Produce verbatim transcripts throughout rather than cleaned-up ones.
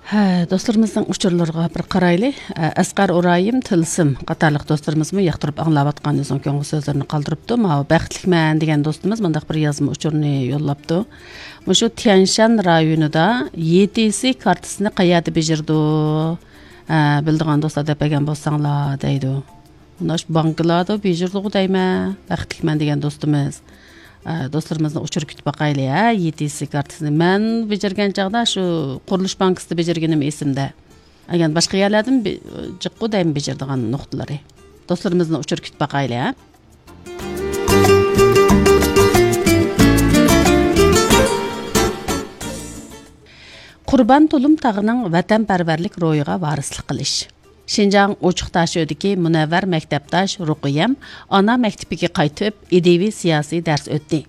ھە، دوستلىرىمىزنىڭ ئۇچۇرلىرىغا بىر قارايلى. ئە، ئەسقەر ئورايىم، تىلسىم قاتارلىق دوستلىرىمىزمۇ ياقتۇرۇپ ئاڭلاۋاتقان ئۆزىنىڭ كۆڭۈل سۆزلىرىنى قالدۇرۇپتۇ. ماۋۇ بەختلىكمەن دېگەن دوستىمىز مۇنداق بىر يازما ئۇچۇرنى يوللاپتۇ. مۇشۇ تيەنشان رايونىدا يې تې سې كارتىسىنى قەيەردە بېجىرىدۇ؟ ئە، بىلىدىغان دوستلار دەپ بەرگەن بولساڭلار دەيدۇ. مۇناش بانكىلاردا بېجىرىدىغۇ دەيمەن، بەختلىكمەن دېگەن دوستىمىز. ئە، دوستلىرىمىزنىڭ ئۇچۇرى كۈتۈپ باقايلى، ھە، يې تې سې كارتىسىنى. مەن بېجىرگەن چاغدا شۇ قۇرۇلۇش بانكىسىدا بېجىرگىنىم ئېسىمدە. ئەگەر باشقا يەرلەردىمۇ بې-، جىققۇ دەيمەن بېجىرىدىغان نۇقتىلىرى. دوستلىرىمىزنىڭ ئۇچۇرى كۈتۈپ باقايلى، ھە. قۇربان تۇلۇم تاغىنىڭ ۋەتەنپەرۋەرلىك روھىغا ۋارىسلىق قىلىش. شىنجاڭ ئوچۇق داشۆدىكى مۇنەۋۋەر مەكتەپداش رۇقىيەم ئانا مەكتىپىگە قايتىپ، ئىدىيىۋى سىياسىي دەرس ئۆتتى.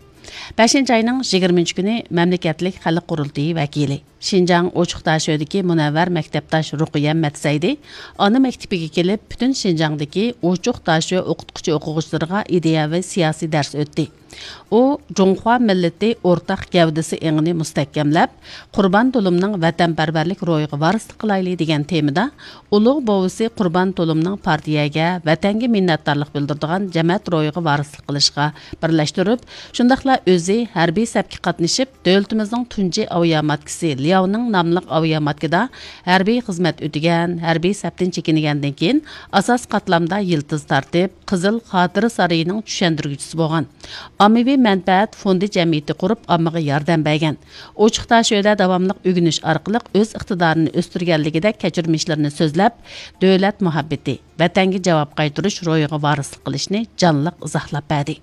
بەشىنچى ئاينىڭ يىگىرمىنچى كۈنى مەملىكەتلىك خەلق قۇرۇلتىيى ۋەكىلى، شىنجاڭ ئوچۇق داشۆدىكى مۇنەۋۋەر مەكتەپداش رۇقىيەم مەتسەيدى ئانا مەكتىپىگە كېلىپ، پۈتۈن شىنجاڭدىكى ئوچۇق داشۆ ئوقۇتقۇچى ئوقۇغۇچىلىرىغا ئىدىيەۋى سىياسىي دەرس ئۆتتى. ئۇ جۇڭخۇا مىللىتى ئورتاق گەۋدىسى ئېڭىنى مۇستەھكەملەپ، قۇربان تۇلۇمنىڭ ۋەتەنپەرۋەرلىك روھىغا ۋارىسلىق قىلايلى دېگەن تېمىدا ئۇلۇغ بوۋىسى قۇربان تۇلۇمنىڭ پارتىيەگە، ۋەتەنگە مىننەتدارلىق بىلدۈرىدىغان جەمەت روھىغا ۋارىسلىق قىلىشقا بىرلەشتۈرۈپ، شۇنداقلا ئۆزى ھەربىي سەپكە قاتنىشىپ، دۆلىتىمىزنىڭ تۇنجى ئاۋىياماتكىسى لياۋنىڭ ناملىق ئاۋىياماتكىدا ھەربىي خىزمەت ئۆتىگەن، ھەربىي سەپتىن چېكىنگەندىن كېيىن، ئاساسىي قاتلامدا يىلتىز تارتىپ، قىزىل خاتىرە سارىيىنىڭ چۈشەندۈرگۈچىسى بولغان، ئاممىۋى مەنپەئەت فوندى جەمئىيىتى قۇرۇپ، ئاممىغا ياردەم بەرگەن، ئوچۇق داشۆدە داۋاملىق ئۆگىنىش ئارقىلىق ئۆز ئىقتىدارىنى ئۆستۈرگەنلىكىدەك كەچۈرمىشلىرىنى سۆزلەپ، دۆلەت مۇھەببىتى، ۋەتەنگە جاۋاب قايتۇرۇش روھىغا ۋارىسلىق قىلىشنى جانلىق ئىزاھلاپ بەردى.